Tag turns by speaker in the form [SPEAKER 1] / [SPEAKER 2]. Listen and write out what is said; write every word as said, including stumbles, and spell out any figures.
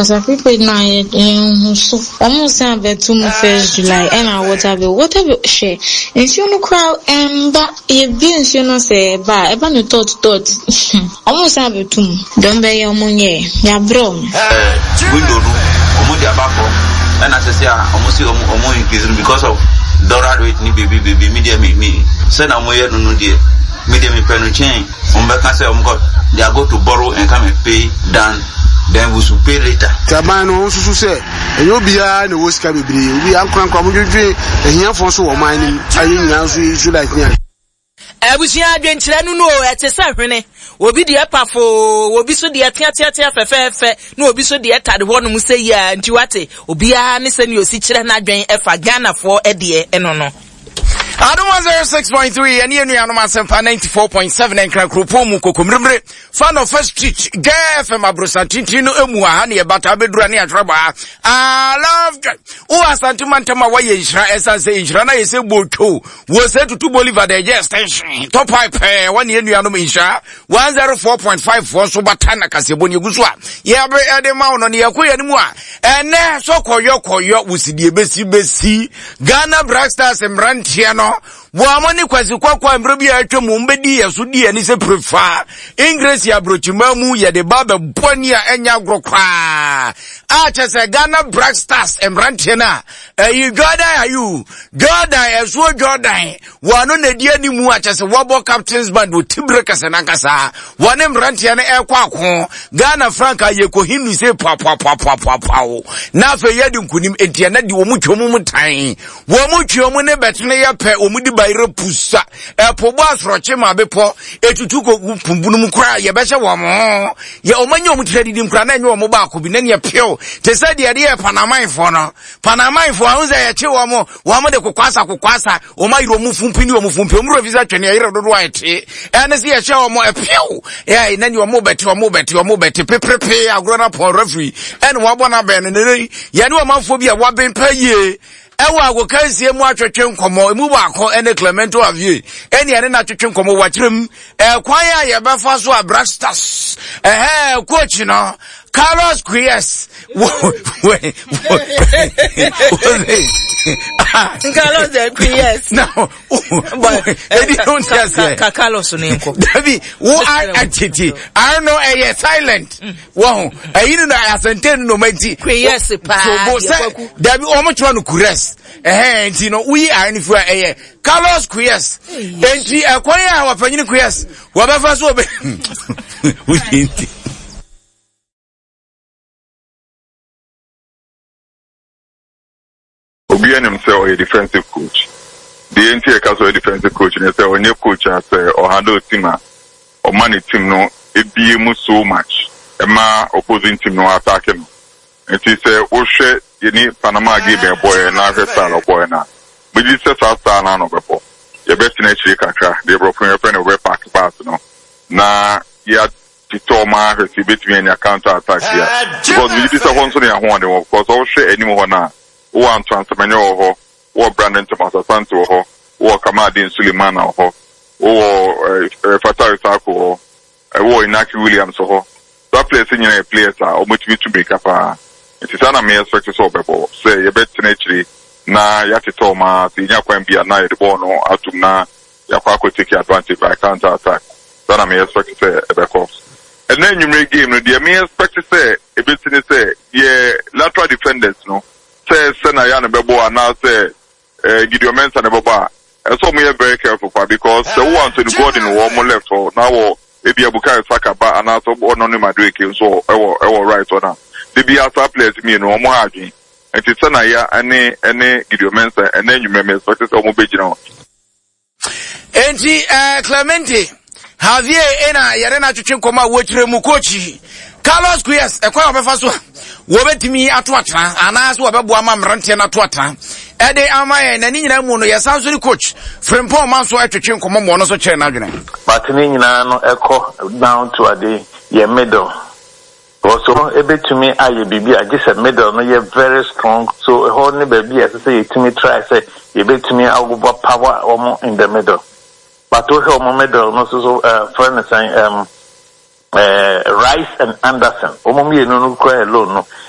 [SPEAKER 1] Kasa prepaid na yɛn ho so. Wɔn san abɛto mu first July ɛna water bill. Water bill, hwɛ, nsuo no koraa ɛmba. Yɛbie nsuo no sɛ ɛba a, ɛba no tɔt tɔt. Wɔn san abɛto mu. Dɔm bɛyɛ wɔn nyɛ. Yɛabrɛ wɔn.
[SPEAKER 2] Window no, ɔmo de aba fam, ɛna sɛsɛ a ɔmo si ɔmo ɔmo increase no because of dollar rate ni beebi beebi. Mi deɛ, mi mi sɛ na ɔmo yɛ no no deɛ, mi deɛ mi pɛ no kyɛn ɔmo bɛka sɛ ɔmo kɔ they are go to borrow and come and pay than then we should pay later.
[SPEAKER 3] Nti aban no ɔnsusu sɛ ɛnyɛ obiara na ɛwɔ sika bebree, obi ankorankora mo dwedwe ahiafoɔ nso wɔ ɔman no mu ayɛ nyinaa nso nsu light ne ade.
[SPEAKER 4] Abusua, adwenkyerɛ no no o, ɛte sɛ hwene. Obi deɛ pafoo, obi so deɛ teateatea fɛfɛɛfɛ, na obi so deɛ tade hɔnom sɛ yi a. Nti wate, obiara ne sɛnea osi kyerɛ n'adwen ɛfa Ghanafoɔ ɛdeɛ ɛno no.
[SPEAKER 5] Adom one oh six point three ɛne anuanom Asɛmpa ninety-four point seven Nkra kuropɔn mu kokommeremmere fa no First Street G F M aborosan tenten no emu aha ne yɛbata abɛdura ne atwerɛ baa. I love joy. Wowɔ Asante mantam a, woayɛ nhyira, ɛsiane sɛ nhyira no ayɛ sɛ botwo wɔ sɛ Tutu Bolivar de ɛgye extension top pipe pɛɛ. Wɔne anuanom Nhyira one oh four point five foɔ nso bata na kaseɛbɔ ne ɛgu so a yɛbe ɛde ma wo no ne yɛkɔ yɛne mu a ɛnɛ sɛ kɔyɔ kɔyɔ wosidie bɛsi bɛsi Ghana Black Stars mmeranteɛ no wɔn mo ne Kwasi Kɔkɔ a mmerɛ bi a atwa mu mbɛdi yɛ so di ani sɛ prefa English aburokyima mu yɛde ba bɛbɔ ani a ɛnyɛ agorɔ koraa a kyɛ sɛ Ghana Black Stars mmeranteɛ no a ɛyi Jordan Ayew, Jordan ɛsoɔ Jordan wɔn ano na di anim a kyɛ sɛ wɔbɔ captain's band wɔ tibire kɛse nankasa. Wɔne mmeranteɛ no ɛrekɔ ako Ghana franka yɛkɔ hindu sɛ papapapapapaw na afei yɛde nkunim. Enti ɛnɛ de wɔn twɛ mu tan wɔn mu twe wɔn ne bɛtene yɛ pɛ wɔn di bayerɛ pusa ɛpo bɔ asorɔkye ma bepɔ etutu kɔ pumpunu mu koraa yɛbɛhyɛ wɔn ho yɛ wɔn anya wɔn tiri didi nkura na ɛnyɛ wɔn baako bi na neɛ pew te sɛ deɛ ɛde yɛ Panamanfoɔ no. Panamanfoɔ ahun sɛ yɛkye wɔn wɔn de kokwasa kokwasa wɔn ayere wɔn fumpi ne wɔn fumpi wɔn wura fi sɛ twene ɛyere dodoɔ a ɛte ɛne sɛ yɛhyɛ wɔn ɛpew yɛ na neɛ wɔn bɛte wɔn bɛte wɔn bɛte peperepe agorɔ na pɔn referee ɛne wɔn abɔ n'abɛn no ne yɛne ɔmanfoɔ bi a wɔabɛn pɛ yie ɛwɔ agokansie mu atwetwe nkɔmmɔ. Emu baako ɛne Clemento Avie ɛne ɛne n'atwetwe nkɔmmɔ wakyerɛ mu ɛkwan a yɛbɛfa so a Black Stars ɛhɛ coach no Carlos Queiroz wo wo
[SPEAKER 4] Carlos de Queiroz.
[SPEAKER 5] Na edi o n ti aseɛ.
[SPEAKER 4] Ka Carlos ne nkɔ.
[SPEAKER 5] Dabi, wo atete ano ɛyɛ silent wɔn ɛyi no na asɛnten no noma nti.
[SPEAKER 4] Queiroz paa.
[SPEAKER 5] Tobo sɛ dabi, wɔn twerɛ no Queiroz ɛhɛn, nti no woyi ayɛ no fi a ɛyɛ Carlos Queiroz. Nti ɛkwan a wɔpanyini Queiroz wɔbɛfa so wɔbɛ woyi nti.
[SPEAKER 6] Obi anim sɛ ɔyɛ defensive coach deɛ, nti ɛka sɛ ɔyɛ defensive coach ne sɛ ɔnyɛ coach a sɛ ɔhandle team a ɔma ne team no ebie mu so much ɛma opposing team no attack no. Nti sɛ wohwɛ yɛne Panama game ɛbɔɛ na ahwɛ style ɔbɔɛ no a, megye sɛ saa style no ano ɔbɛbɔ. Yɛbɛtena akyire kakra deɛ borɔfo yɛfrɛ no yɛbɛ park bus no na yɛatetɔ ɔma ahwɛ sɛ yɛbɛtumi anya counter attack bi a, because megye di sɛ hɔ nso ne yɛahoɔden wɔ, because ɔwohwɛ anim hɔ no a, wowɔ Antoine Semenyo wɔ hɔ, wowɔ Brandon Thomas Asante wɔ hɔ, wowɔ Kamaldeen Sulemana wɔ hɔ, wowɔ ɛɛ Fatawu Issahaku wɔ hɔ, wowɔ Inaki Williams wɔ hɔ. Saa players nyinaa yɛ players a wɔtumi tu mirika paa. Nti saa na me expect sɛ ɔbɛbɔ, sɛ yɛbɛtena akyire na yɛatetɔ ɔma sɛ yɛnya kwan bi a na yɛde bɔɔl no atum na yɛakɔ akɔ take advantage by counter attack. Saa na me expect sɛ ɛbɛkɔ. Ɛnna anwummerɛ game no deɛ, me expect sɛ ebesi ne sɛ yɛ lateral defenders no, sɛ sɛ na yɛ no bɛbɔ anaasɛ ɛɛ Gideon Mensah no bɛbɔ a, ɛsɛ ɔmo yɛ very careful pa, because sɛ wowɔ Anthony Gordon wɔ ɔmo left hɔ na wɔ ebi Bukayo Saka ba anaasɛ ɔno ne Madueke nso ɛwɔ ɛwɔ right hɔ na de bi asa players mmienu ɔmo ha adwene. Nti sɛ na yɛ ɛne ɛne Gideon Mensah ɛnɛ anwummerɛ me expect sɛ ɔmo bɛgyina hɔ.
[SPEAKER 5] Enti uh, Clemente Javier ɛna yɛde no atwetwe nkɔmmɔ a wɔkyerɛ mu coach Carlos Queiroz ɛkwan a wɔbɛfa so a wɔbɛtumi ato atena anaasɛ wɔbɛboa ma mmeranteɛ no ato atena ɛde ama yɛn. Na ne nyinaa mu no, yɛsan so ne coach Frimpɔn ma nso atwetwe nkɔmmɔ ma ɔno nso kyerɛ n'adwene.
[SPEAKER 7] But ne nyinaa no ɛkɔ down to ade yɛ middle. Also ebetumi ayɛ biribi a gye sɛ middle no yɛ very strong, so ɛhɔ ne baabi a ɛsɛ sɛ yɛtumi try sɛ yɛbɛtumi agoba power wɔn in the middle. But wohwɛ wɔn middle no so so ɛɛ frɛ no sɛn, ɛm ɛɛ Rice and Anderson, wɔn mmienu no kura alone no.